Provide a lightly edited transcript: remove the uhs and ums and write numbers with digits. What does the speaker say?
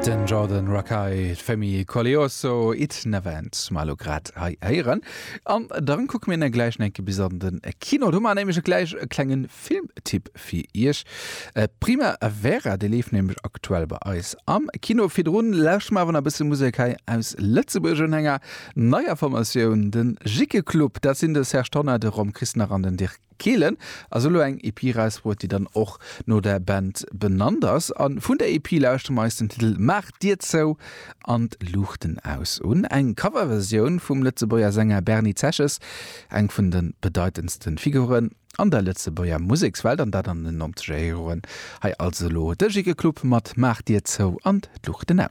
Den Jordan Rakei, d'Femi Koleoso, It Never Ends, hu mer elo grad hei héieren. An dann kucke mir gläich nach eng Kéier bis an de Kino. Do hu mer nämlech gläich e klenge Filmtipp fir iech. Primavera, dee leeft nämlech aktuell bei eis am Kino. Virdrun lauschtere mer awer nach e bësse Musek hei aus Lëtzebuerg un enger neier Formatioun, de Jickeclub. Dat sinn de Serge Tonnar, de Rom Christnach an den Dirk Kehlen. Ass elo eng EP erausbruet, déi dann och no der Band benannt ass. A vun der EP lauschtere mer eis den Titel Maach d'Dier zou an d'Luuchten aus un. Eng Coverversioun vum Lëtzebuerger Sänger Berny Zeches, eng vun de bedeitendste Figuren an der Lëtzebuerger Musekswelt, an dat an den nonzeger Joren. Hei also elo de Jickeclub mat Maach d'Dier zou an d'Luuchten aus.